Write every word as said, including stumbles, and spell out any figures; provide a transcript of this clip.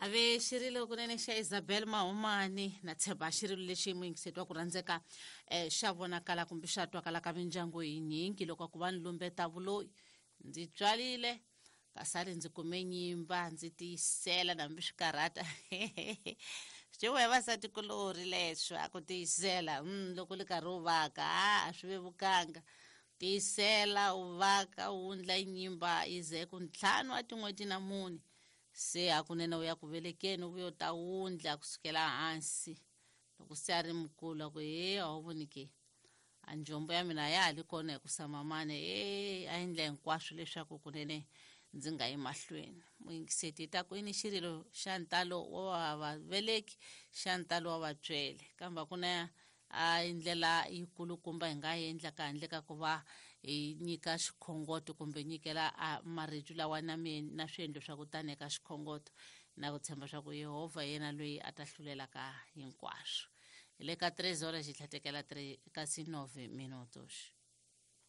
Ave xirilo kunene xa Isabel Mahumani na tshemba xirilo lexi muyingiseti wa ku rhandzeka eh, xa vonakala kumbe xa twakala ka mindyangu yinyingi loko ku va ni lumbeta vuloyi. Ndzi tswalile kasali ndzi kume nyimba ndzi tiyisela nambi swikarhata swi we vasati kulori leswo a ku tiyisela mm, loko li karhi u vaka a a swi vevukanga tiyisela u vaka u wundla nyimba yi ze ku ntlhanu wa tin'hweti na mune se hakunene u ya ku velekeni u vuya u ta wundla kusukela hansi loko se a ri mukulu a ku he a wu voni ke a njombo ya mina ya ha li kona hi ku samamane e a endla hinkwaswo leswaku kunene ndzi nga yi mahlweni. Muyingiseti ta ku yini xirilo xa ntalo wa vaveleki xa ntalo wa vatswele kambe ku na a ndlela yikulukumba hi nga endlaka handle ka ku va hi nyika xikhongoto kumbe nyikela a marito lawa na na swiendlo swa ku tani eka xikhongoto na ku tshemba swa ku Yehovha yena loyi a ta hlulelaka hinkwaswo. Hi le ka tres horas xi tlhatekela kasi nove minutos.